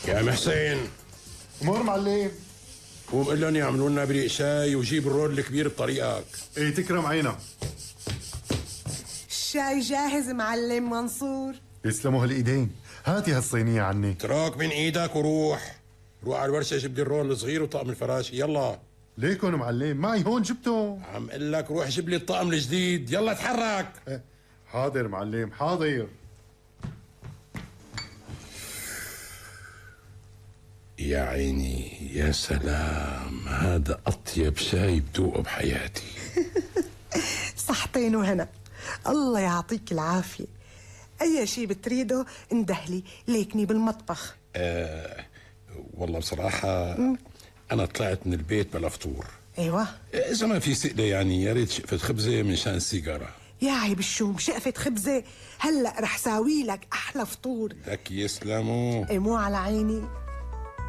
يا محسن امور معلم. قوم قل لهم يعملوا لنا بريق شاي وجيب الرول الكبير بطريقك. ايه تكرم عينك. الشاي جاهز معلم منصور. يسلموا هالايدين. هاتي هالصينية عني. تراك من ايدك وروح على الورشة جيب لي الرول الصغير وطقم الفراشي يلا. ليكن معلم معي هون جبته. عم قل لك روح جيب لي الطقم الجديد يلا اتحرك. حاضر معلم حاضر. يا عيني يا سلام، هذا أطيب شاي بدوقه بحياتي. صحتين وهنا، الله يعطيك العافية. أي شي بتريده اندهلي ليكني بالمطبخ. والله بصراحة أنا طلعت من البيت بلا فطور. أيوة إذا ما في سئلة يعني يا ريت شقفة خبزة من شان السيجارة. يا عيب الشوم، شقفة خبزة هلأ رح ساوي لك أحلى فطور. لك يسلموا. إيه مو على عيني.